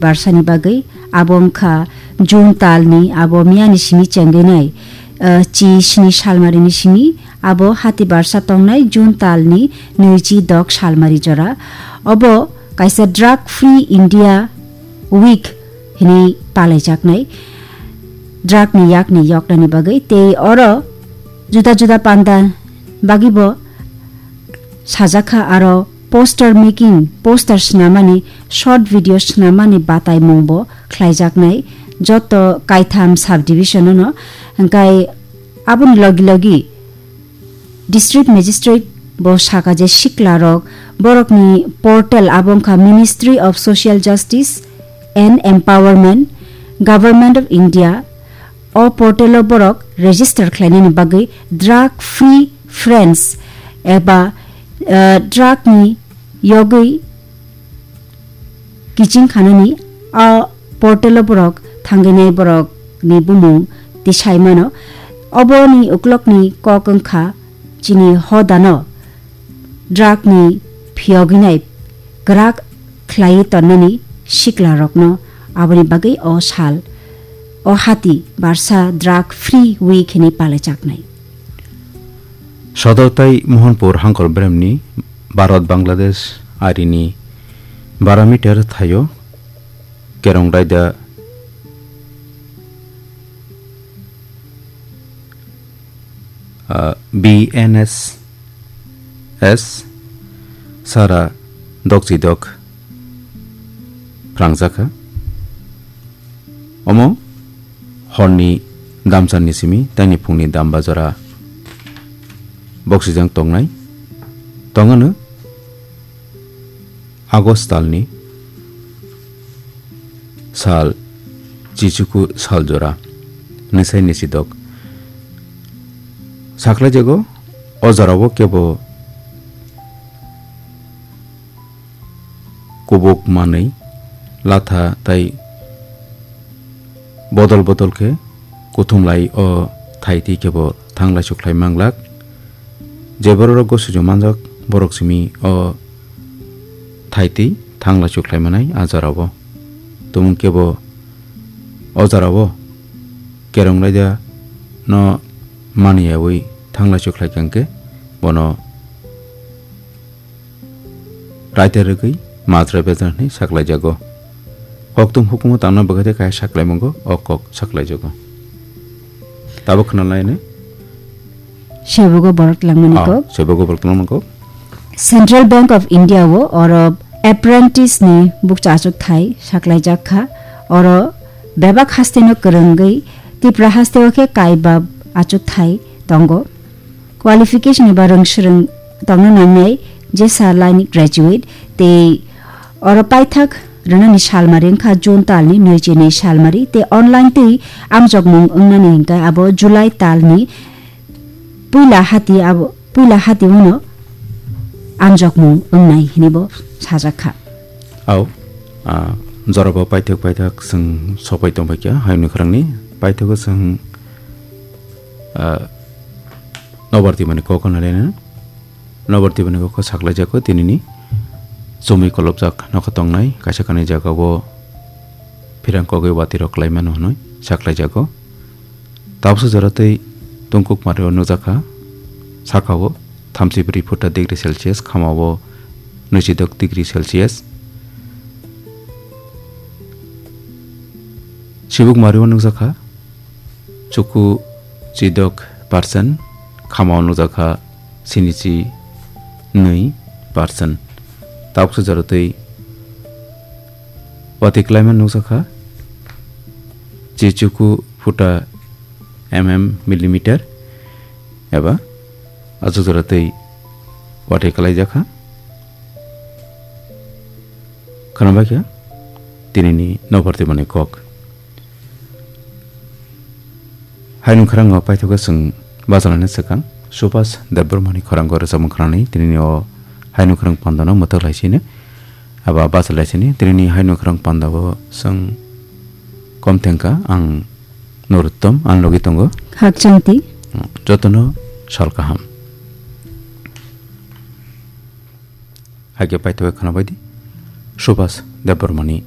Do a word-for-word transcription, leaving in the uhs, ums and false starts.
barsani bagwi, abo wngkha June talni, abo miyani simi chengwi nai, ah, chi sini salmarini simi, abo hati barsa tongnai June talni nwichi dok salmari jora. Obo kaisa Drug Free India Week hinwi palaijaknai, drug ni yakni yoknani bagwi, tei oro juda juda panda bagwibo sajakha, aro poster making, poster swnamani, short video swnamani bataimungbo khlaijaknai joto kaitham subdivision-o no. Hwnkhe aboni logi logi District Magistrate bo saka je siklarok, borokni portal abo wngkha Ministry of Social Justice and Empowerment, Government of India. O portal-o borok register khlainani bagwi Drug Free France eba, eh, drug ni yogwi kiching khanani a portal-o borok thangwi nai borokni bumung tisai mano. Oboni uklokni kok wngkha chini hodano drug ni phiyogwi nai kwrak khlaiwi tonnani siklarokno. Aboni bagwi o sal, o hati barsa Drug Free Week hinwi palaijaknai. Sodor tai Mohanpur hangkor beremni Bharat Bangladesh arini bara meter thaio kerong raida, ah, B N S S sara dokchidok phrangjakha. Omo horni damsani simi taini phungni dam bajora boksijang tongnai. Tongano August talni sal chichuku sal jora nisai nisidok saklaijago. O jorao kebo kubuk manwi latha tai bodol bodol khe kuthumlai o thaitwi kebo thanglaisu khlai manglak. Je bororok gosuju manjak borok simi o thaitwi thanglaisu khlai manai a jorao. Tumung kebo o jorao kerong raida no maniyawi thanglaisu khlai kangkhe bono raida rwgwi majra bejra hwnwi saklaijago. Kokthum hukumu tangna bwkhaide kaya saklaimungo o kok saklaijago. Tabuk khwnalaini. Sebogo borok langmani Ah, kok. Sebogo borok langmani kok. Central Bank of India o oro apprentice ni bukcha achuk thai saklaijak kha. Oro bebak haste no kwrwngwi Tipra haste o khe kaibab achuk thai tongo. Qualification eba rwngswrwng tongna nangnai jesa line graduate tei oro paithak rwnani salmari wngkha June talni nwichi nwi salmari tei online twi amjokmung wngnani hwnkhe abo July talni puila hati abo, puila hati uno amjokmung wngnai hinibo sajakha. Au, ah, jorabo paithak paithak chwng sopai tongbaikha hayungni khorangni paithago chwng, ah, nobar twimani kok hwnwi laina. Nobar twimani kok saklaijago tinini chumui kolopjak nokha tongnai kaisa kanwi jagao phirang kogwi watirok klaimano hwnwi saklaijago. Tabuksa jora tei tungkuk mario nukjakha, sakao thamchi bwrwi phuta degree Celsius, khamao nwichidok degree Celsius. Sibuk mario nukjakha, chuku chidok percent, khamao nukjakha sinichi nwi percent. Tabuksa jora tei watwi klaima nukjakha, chichuku phuta mm millimeter eba achuk jora tei watwi kalaijakha. Khwnabaikha tinini nobar twimani kok. Haino khorang o paithago chwng bachalaina swkang Subhas Debbarmani khorang o rwchapmung khwnani tinini o haino khorang pandano mwthok lai sini aba bachal lai sini tinini haino khorang pandao chwng kom thengkha ang Nuruttom ang logi tongo. Hakchangti. Jotono sal kaham. Haikhe paithago khwnabaidi Subhas Debbarmani